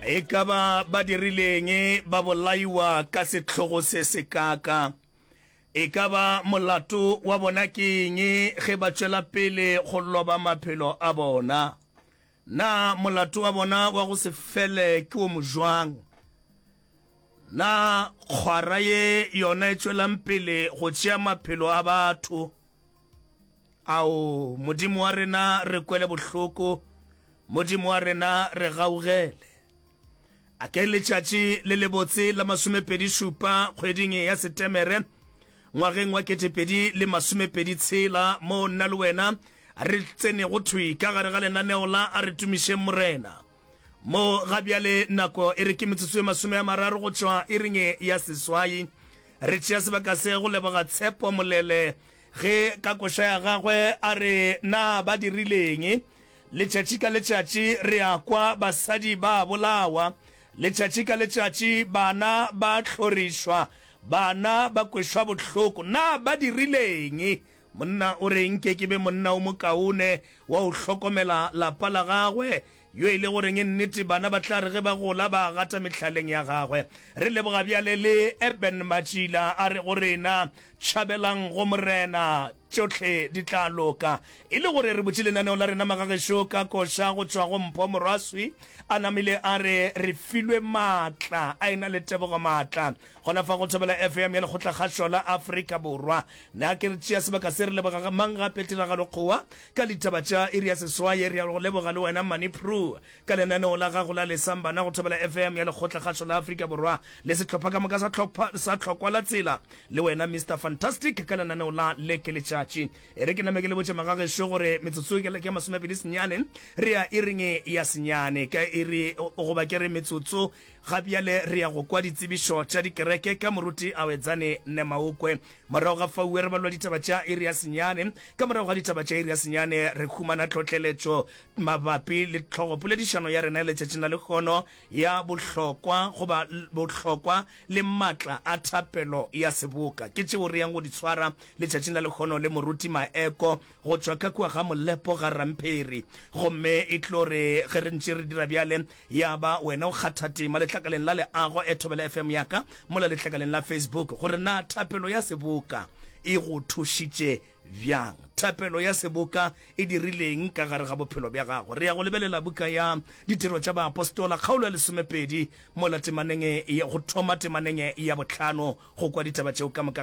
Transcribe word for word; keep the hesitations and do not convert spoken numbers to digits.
E ka ba ba dirileng ba bolaiwa ka sehlogo se sekaaka? E ka ba molato wa bona ke eng ge ba tšwela pele go loba maphelo a bona? Na molato wa bona wa go se fele ke o mojwang? Na kgwara ye yona e tšwelang pele go tšea maphelo a batho? Ao, Modimo wa rena, re kwele bohloko, Modimo wa rena, re gaugele. A ke letšatši le lebotse la masomepedi šupa kgweding ya Setemere ngwageng wa ketepedi le masomepedi tshela moo nna le wena re tsenego thwi ka gare ga lenaneo la A Re Tumišeng Morena. Mo ga bjale nako e re ke metsotso e masome a mararo go tšwa iring ya seswai. Re tšea sebaka se go leboga Tshepo Molele ge ka koša ya gagwe a re na ba dirileng. Letšatši ka letšatši re a kwa basadi ba bolawa. Letšatši ka letšatši bana ba hlorišwa, bana ba kwešwa bohloko. Na ba dirileng? Monna o re nke ke be monna o mokaone wa go hlokomela lapa la gagwe, yo e le goreng nnete bana ba tla re ge ba gola ba gata mehlaleng ya gagwe. Re leboga bjale le Eben Matšila a re go rena, Tšhabelang go Morena, tšohle di tla loka. E le gore re butše lenaneo la rena magagešo ka koša go tšwa go Mpho Morwaswi a namile a re re filwe maatla a ena le Tebogo Maatla gona fa go Thobela F M ya Lekgotlakgašo la Afrika Borwa. Na ke re tšea sebaka se re leboga mang gape Tiragalo Kgowa ka ditaba tša iri ya seswai. Re a go leboga le wena Mani Prue ka lenaneo la gago la Lesang Bana go Thobela F M ya Lekgotlakgašo la Afrika Borwa le sehlopha ka moka sa hlopha sa Tlhokwa la Tsela le wena Mister Fantastic ka lenaneo la Le Ke Letšatši. E re ke name ke le botše magagešo gore metsotso ke ya masomepedi senyane re ya iring ya senyane ka iri goba ke re metsotso ga bjale re ya go kwa ditsebišo tša dikereke ka moruti Awedzane Nemaokwe. Morago ga faue re balwa ditaba tša iri ya senyane. Ka morago ga ditaba tša iri ya senyane re humana tlhohleletšo mabapi le tlhogopoledišano ya rena ya letšatšing la lehono ya bohlokwa goba bohlokwa le matla a thapelo ya seboka. Ke tšeo re yang go di tshwara letšatšing la lehono le moruti Maeko go tšwa ka kua ga Molepo ga Rampheri. Gomme e tlo re ge re ntše re dira bjale, ya ba wena o kgatha tema letlakaleng la leago e Thobela F M ya ka mola letlakaleng la Facebook gore na thapelo ya seboka e go thušitše bjang. Thapelo ya seboka e dirileng ka gare ga bophelo bja gago? Re ya go lebelela buka ya Ditiro tša Baapostola kgaolo ya lesomepedi mola temaneng ya go thoma temaneng ya bohlano go kwa ditaba tšeo ka moka.